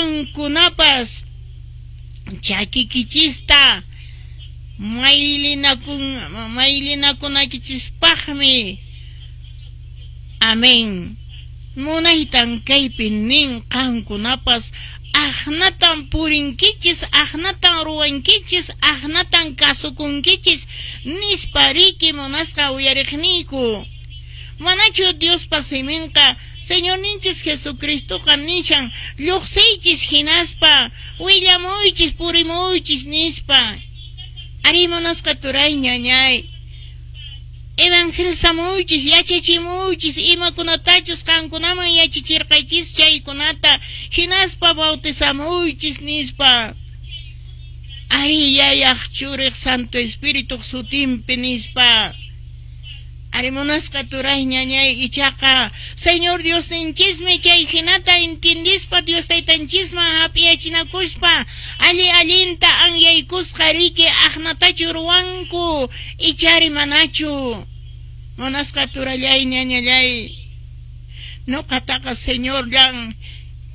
Qankunapas chakikichista maylinakunaykichispaqmi. Amén. Munaytan kaypi nin qankunapas aqnatan purinkichis, aqnatan ruwankichis, aqnatan kasukunkichis nispa riki munasqa uyariqniyku. Manachu Diospa siminqa Señorninchis Jesucristoqa nishan lluqsiychis hinaspa willamuychis purimuychis nispa. Arí munasqa turay ñañay. Evangelizamuychis, yachachimuychis imakunatachus qankunaman yachachirqaychis chaykunata hinaspa bautizamuychis nispa. Arí Yayaq Churiq Santo Espirituq sutinpi nispa. Arí munasqa turay ñañay ichaqa Señor Diosninchismi chay hinata entiendispa Dios Taytanchisman hap'iyachinakuspa alli allinta anyaykusqa riki aqnatachu ruwanku ichari manachu. Munasqa turallay ñañallay nuqataqa Señorllan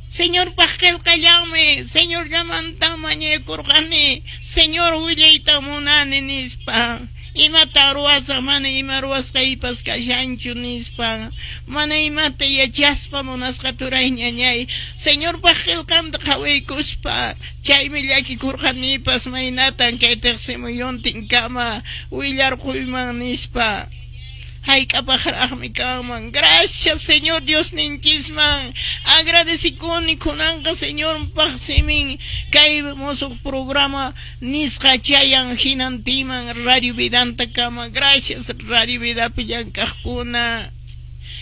Señorpaq qillqallanmi Señorllamantan mañaykurqani Señor willayta munani nispa. Imata ruwasaq mana ima ruwasqaypas kashanchu nispa. Mana imata yachaspa munasqa turay ñañay Señorpaq qillqanta qhawaykuspa chaymi llakikurqanipas maynatan kay tiqsimuyuntinkama willarquyman nispa. Hayk'apaqraqmi kanman. Gracias Señor Diosninchisman. Agradecikuni kunanqa Señorpaq simin kay musuq programa nisqa chayan hinantiman Radio Vidanta kama. Gracias Radio Vidapi llank'aqkuna.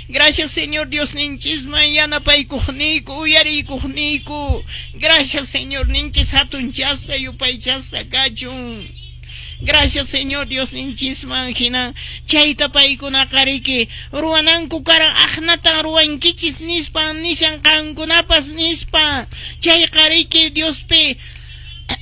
Gracias Señor Diosninchisman yanapaykuqniyku uyariykuqniyku. Gracias Señor ninchis hatunchasqa yupaychasqa kachun. Gracias Señor Diosninchisman hina chayta paykunaqa riki ruwananku karan aqnatan ruwankichis nispa nishan qankunapas nispa chayqa riki Diospi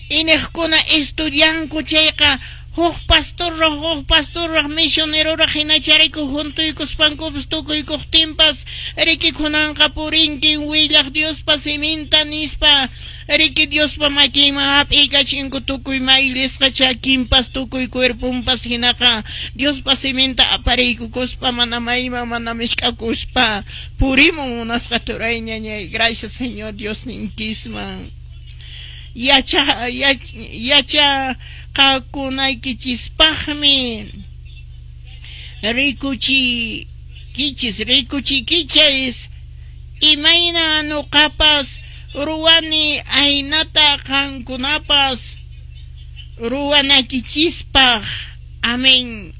iniqkuna estudianku chayqa huk pastorraq misioneroraq hinachariku juntuykuspankupas tukuykuqtinpas riki kunanqa purinkin willaq Diospa siminta nispa riki Diospa makinman hap'iykachinku tukuy maylisqa chakinpas tukuy cuerpunpas hinaqa Diospa siminta apariykukuspa mana mayman mana mishk'akuspa purimun munasqa turay ñañay. Gracias Señor Diosninchisman. Yachaqakunaykichispaqmi rikuchikichis imayna nuqapas ruwani aynata qankunapas ruwanakichispaq. Amén.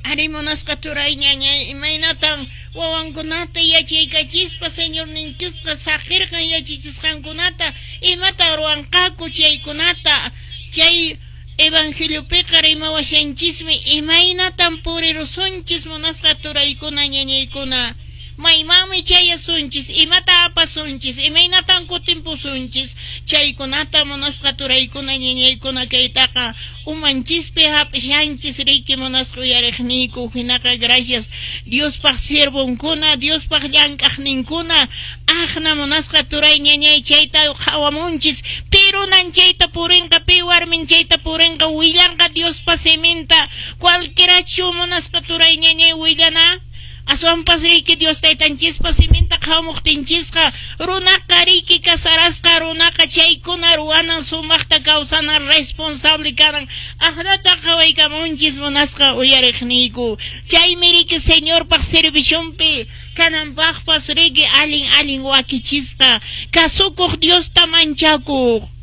Ari munasqa turay ñañay imaynatan wawankunata yachaykachispa Señorninchisqa saqirqan yachachisqankunata imata ruwanqaku chaykunata chay evangeliopiqa rimawashanchismi imaynatan purirusunchis munasqa turaykuna ñañaykuna maymanmi chayasunchis imata apasunchis imaynatan kutimpusunchis chaykunata munasqa turaykuna ñañaykuna kaytaqa umanchispi hap'ishanchis riki munasqa uyariqniyku hinaqa gracias Diospaq siervonkuna Diospaq llank'aqninkuna aqna munasqa turay ñañay chayta qhawamunchis pi runan chayta purinqa pi warmin chayta purinqa willanqa Diospa siminta cualquierachu munasqa turay ñañay willana aswanpas riki Dios taytanchispa siminta qhawamuqtinchisqa runaqa riki kasarasqa runaqa chaykuna ruwanan sumaqta kawsanan responsable kanan aqnata qhawaykamunchis munasqa uyariqniyku chaymi riki Señorpaq servicionpi kananpaqpas riki allin allin wakichisqa kasukuq Diosta manchakuq.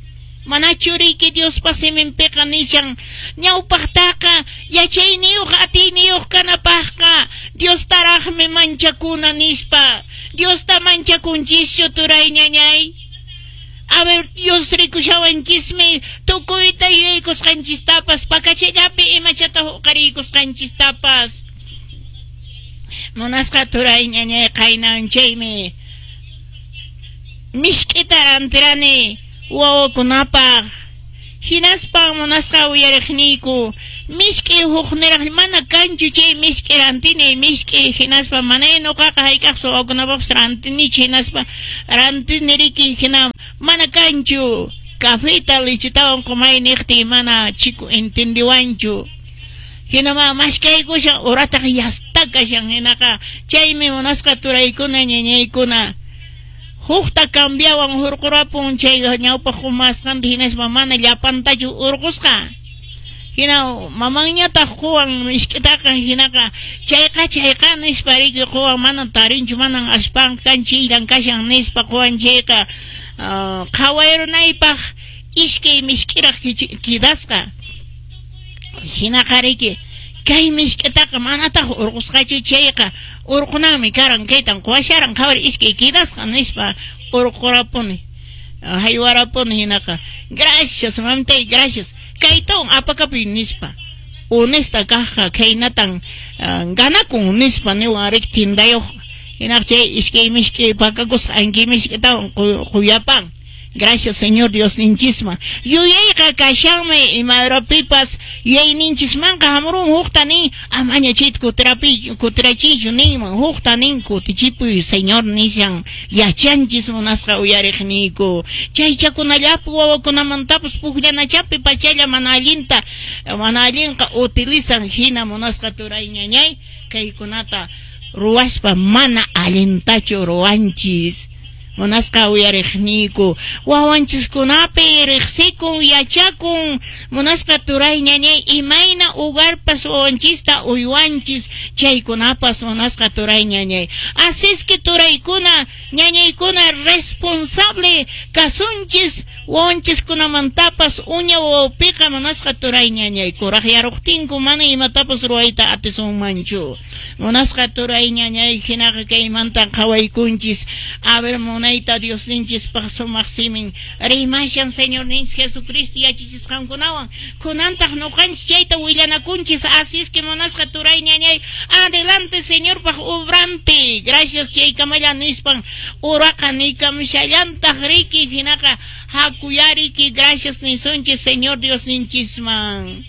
Manachu riki Diospa siminpiqa nishan ñawpaqtaqa yachayniyuq atiyniyuq kanapaqqa Diostaraqmi manchakuna nispa. Diosta manchakunchischu turay ñañay. A ver, Dios rikushawanchismi tukuyta yuyaykusqanchistapas pakachallapi imachata huqariykusqanchistapas. Munasqa turay ñañay qaynan chaymi mishk'ita rantirani wawakunapaq hinaspa munasqa uyariqniyku mishk'i hukniraq mana kanchu chay mishk'i rantini mishk'i hinaspa mana nuqaqa hayk'aqpas wawakunapaqpas rantinichu hinaspa rantini riki hina Mana kanchu. Cafeta lechetawan qumay niqtiy mana chico entendiwanchu. Hinama maskaykushan urataq yasta kashan hinaqa chaymi munasqa turaykuna ñañaykuna hukta cambiawan hurqurapun chay ñawpaq qumasqanta hinaspa mana llapantachu hurqusqa. Hina mamanñataq quwan misk'itaqa hinaqa chayqa chayqa nispa riki quwan mana tarinchu manan aspan kanchillan kashan nispa quwan chayqa qhawayrunaypaq iskay misk'iraq kidasqa. Hinaqa riki kay misk'itaqa manataq hurqusqachu chayqa hurqunanmi karan kaytan quwasharan qhawari iskay kidasqa nispa hurqurapuni. Haywarapuni hinaqa gracias mamtay gracias kaytawan apakapuy nispa honesta kaqqa khaynatan ganakun nispa niwan riki tindayuq hinaqa chay iskay misk'i pakakusqa anki misk'itawan quyapan. Gracias Señor Diosninchisman. Yuyayqa kashanmi ima urapipas yuyayninchismanqa hamurun hukta nin amaña chayta kutirachiychu ninman hukta nin kutichipuy Señor nishan yachanchis munasqa uyariqniyku chaychakunallapi wawakunamantapas pukllanachapi pachalla mana allinta mana allinqa utilizan hina munasqa turay ñañay kaykunata ruwaspa mana allintachu ruwanchis. Munasqa uyariqniyku wawanchiskunapi riqsikun yachakun munasqa turay ñañay imayna hogarpas wawanchista uywanchis chaykunapas munasqa turay ñañay. Así es que turaykuna ñañaykuna responsable kasunchis wawanchiskunamantapas uña wawapiqa munasqa turay ñañay kuraq yaruqtinku mana imatapas ruwayta atisunmanchu. Munasqa turay ñañay hinaqa kaymanta qhawaykunchis a ver munayta Diosninchispaq sumaq simin rimashan Señorninchis Jesucristo yachachisqankunawan kunantaq nuqanchis chayta willanakunchis. Así es que munasqa turay ñañay adelante Señorpaq obrampi gracias chaykamalla nispan uraqa nikamushallantaq riki hinaqa hakuyariki gracias nisunchis Señor Diosninchisman.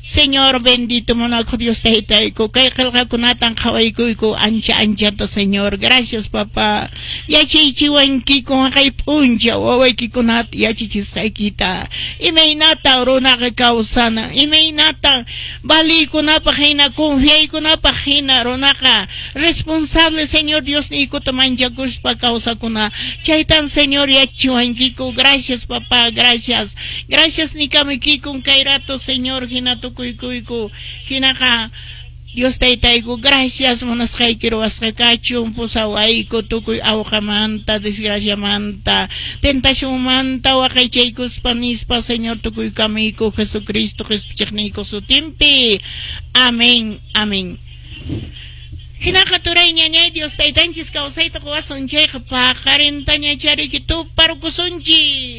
Señor bendito munakuq Dios taytayku kay qillqakunatan qhawaykuyku ancha anchata Señor gracias papá yachaychiwankiku haqay p'unchaw wawaykikunata yachachisqaykita imaynata runaqa kawsana imaynata valiykunapaq hina confiaykunapaq hina runaqa responsable Señor Diosniykuta manchakuspa kawsakuna chaytan Señor yachachiwankiku gracias papá gracias gracias nikamukikun kay rato Señor hina tukuykuyku hinaqa Dios taytayku gracias munasqayki ruwasqa kachun pusawayku tukuy awqamanta desgraciamanta tentacionmanta waqaychaykuspa nispa Señor tukuykamuyku Jesucristo qhispichiqniyku sutinpi. Amén, amén. Hinaqa turay ñañay Dios taytanchis kawsayta quwasun chayqa paqarintaña chariki tuparkusunchis.